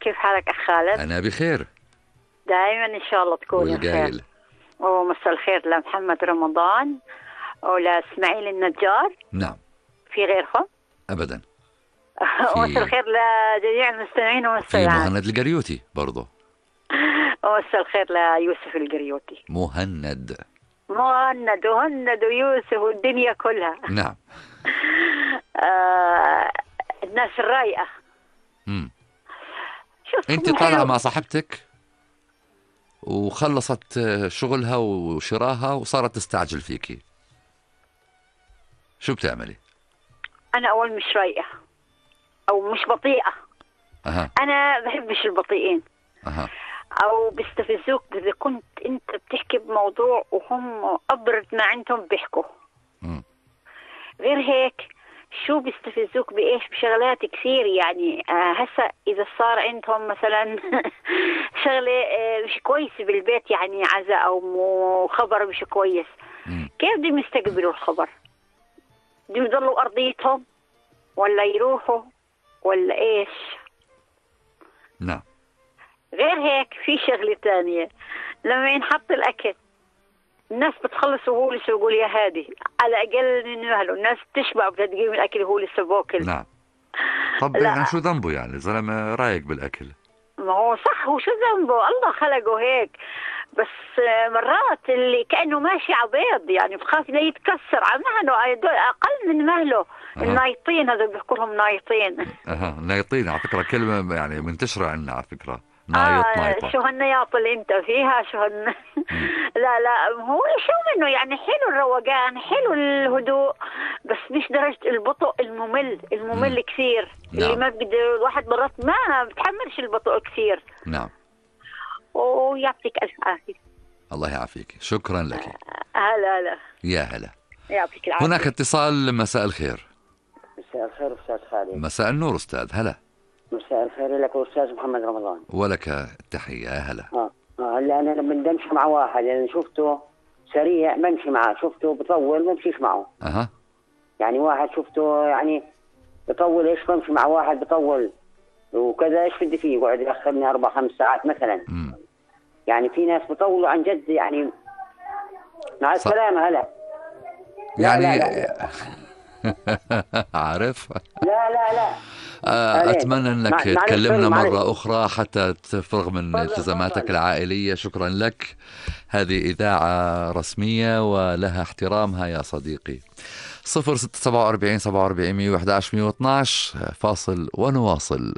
كيف حالك أخ خالد؟ أنا بخير دائما إن شاء الله تكون بخير. والقايل ومساء الخير لمحمد رمضان ولإسماعيل النجار. نعم. في غيرهم؟ أبدا. ومساء الخير لجميع المستمعين في والمستمعات. مهند القريوتي برضه. ومساء الخير ليوسف القريوتي. مهند وهند ويوسف والدنيا كلها. نعم. الناس الرايقة. أنت طالعة مع صاحبتك وخلصت شغلها وشراها وصارت تستعجل فيكي، شو بتعملي؟ أنا أول مش رايقة أو مش بطيئة. أنا بحبش البطيئين. أو بيستفزوك إذا كنت أنت بتحكي بموضوع وهم أبرد ما عندهم بيحكوا. غير هيك شو بيستفزوك بإيش؟ بشغلات كثير يعني. هسا إذا صار عندهم مثلا شغلة مش كويسة بالبيت، يعني عزاء أو خبر مش كويس، كيف بدهم يستقبلوا الخبر؟ بدهم يضلوا أرضيتهم ولا يروحوا ولا إيش؟ نعم. غير هيك في شغلة تانية، لما ينحط الأكل الناس بتخلص وهو لسه بيقول يا هادي، على أقل من مهله الناس تشبع بتقيم الأكل وهو لسه باكل. نعم. طب يعني شو ذنبه يعني؟ زلمة رايق بالأكل. ما هو صح، وشو ذنبه؟ الله خلقه هيك. بس مرات اللي كأنه ماشي عبيض يعني بخاف لا يتكسر على مهله، أقل من مهله. النايطين هذا بيحكوا لهم نايطين. نايطين على فكرة كلمة يعني منتشرة عندنا على فكرة. نايطة. شو هالنياط اللي انت فيها؟ شو لا هو شو منه يعني، حلو الروقان، حلو الهدوء، بس مش درجة البطء الممل كثير. نعم. اللي ما بقدر الواحد مرات ما بتحملش البطء كثير. نعم. ويعطيك ألف عافية. الله يعافيك، شكرا لك. هلا يا هلا. يعطيك العافية. هناك اتصال. مساء الخير. مساء الخير أستاذ خالد. مساء النور أستاذ. هلا. مساء الخير لك أستاذ محمد رمضان. ولك التحية. هلا. هلا أنا لما بمشي مع واحد يعني شفته سريع بمشي معه، شفته بطول ما بمشيش معه. يعني واحد شفته يعني بطول إيش بمشي مع واحد بطول وكذا، إيش بدي فيه يقعد يأخرني 4-5 ساعات مثلا. يعني في ناس بطولوا عن جد يعني. مع السلامة. هلا. يعني لا. عارف. لا. أتمنى أنك تكلمنا مرة أخرى حتى تفرغ من التزاماتك العائلية. شكرا لك. هذه إذاعة رسمية ولها احترامها يا صديقي. 0647 47 111 112. فاصل ونواصل.